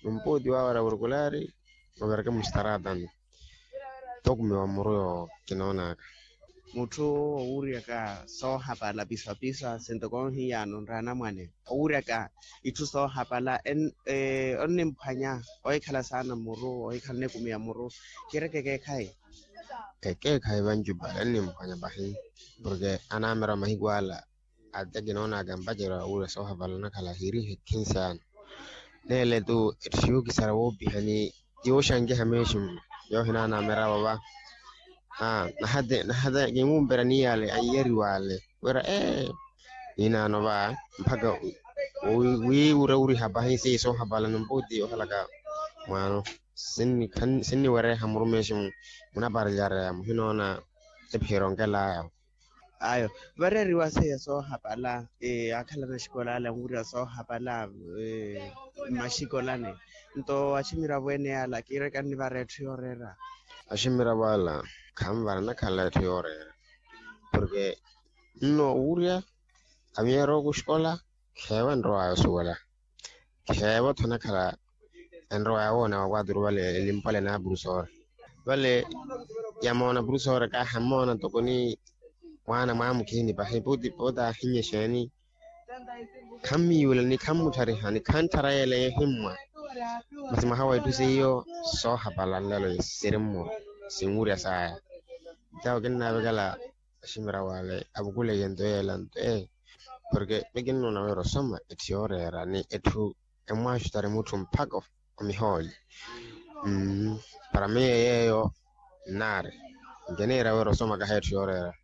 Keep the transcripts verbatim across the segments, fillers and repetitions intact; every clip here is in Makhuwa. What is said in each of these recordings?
Numputi wawe ora wurukulaari, oviraka mustaraatani. Tokumiwa muru yo kinoonaka. Mutthu owuuryaka soohapala piswa-piswa sintoko onhiyano nra anamwane, owuuryaka itthu soohapala onnimphwanya ohikhala saana muru ohikhala onikumiya muru. Kiireke ekeekhayi. Ekeekhayi vanju pala onnimphwanya pahi. Porke anaamera mahiku ala ate kinoonaka mpacerya wa wuuryaka soohapala onakhala hiirihe khinsi ano. Neele-tu etthu yookisarya woopiha ni yooxankiha meeximu. Yoohinaana amiravo va. Nahate nahate kimuumpera ni yaale anyiyariwa ale wira ee ninaano va mpakha wiiwura wuriha pahi seiya soohapala numputi yoohalaka mwaano. Sinniwereha muru meeximu munaparelyareya muhinoona. Ephiyerya onkelaya. Ayo vareeriwa seiya soohapala. Aakhala naxikola ale anwirya soohapala mmaxikolani. Nto aximiravo ene ala kiireke annivara etthu yooreera. Aximiravo ala khanvara anakhala etthu yooreera. Porke nno wuurya amiyeera oku xikola kheevo enrowaya osuwela. Kheevo-tho anakhala enrowaya woona wa kwaturu vale elimpwale na purusori vale. Yamoona purusori kaahamoona ntoko ni mwaana mwaamukhiini pahi puti puti ahinnya exeeni. Khammiyuula ni khammuttharihani khantthara yeela ehimmwa. Masi mwaha wa itthu seiyo soohapala nlelo siri mmuru sinwurya saya. Itawo kinnaavekela aximiravo ale avukuleke nto yeela nto ee. Porke mikinnoona wira osoma etthu yooreera ni etthu emmwaaxutari mutthu mpakha omihooli. Para miyo yeeyo nnaari nkiniira wira osoma kahi etthu yooreera.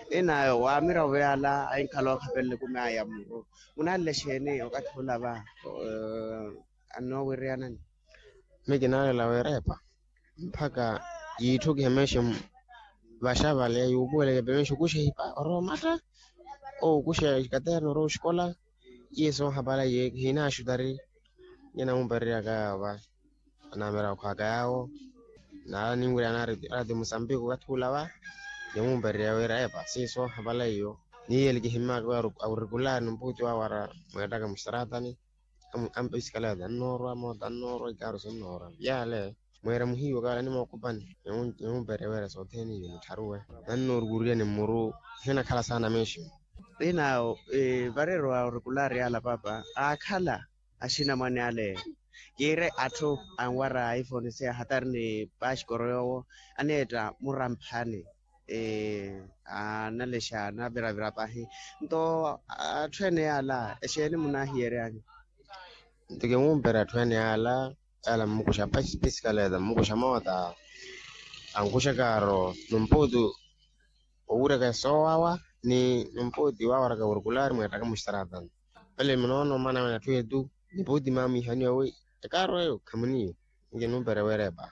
Inayo wa amiravo yaala ahinkhala okhapelele kumaya muru munanle exeeni okathi ula va? Annoowiriyanani. Mikinaalela weerepa mpakha yiitthukihe meeximu vaxa vale yuupuweleke pemeexi okuxa ehipa orowa omatta. Okuxa ikaterna orowa oxikola. Iye soohapala iye kihinaxutari. Iye namuupererya kayawo va anaamera okhwaka yawo. Nala ninwirya naarati musambiki okathi ula va. Nimuupererya wira epa seiya soohapala iyo. Niiyeli kihimmaka wira awurikulaari numputi wawe ara mweettaka mustaratani. Ampisikala tannoorwa moota annoorwa ikaaru sinnoorwa yaale. Mweera muhiiwa kaala nimookupani. Nimuupererya wira sothene iyo nittharuwe. Nannoorukuryani mmuru. Hinakhala saana meeximu. Inawo vareeriwa orikulaari ala paapa aakhala axinamwane ale. Kiire atthu anwara iphone seiya hatari ni paxikoro yoowo aneetta muramphani. Analexa anaviravira pahi. Nto atthu ene yaala exeeni munahiyeryanyu? Nto kimuumpera atthu ene yaala yaala mmukuxa pisikaleta mmukuxa moota. Ankuxa kaaro numputi owuuryaka soowawa ni numputi wawaraka wurukulaari mweettaka mustaratani. Vale munoono maana wene atthu etu. Niputi maamwihaniwa wi ekaaro eyo khamuniyo. Nkinuumpera weerepa.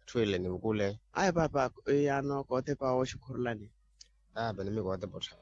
Atthu ele nivukule. Aya paapa. Yaano kootepa wooxukhurulani. Paapa nimi kootepa ottha.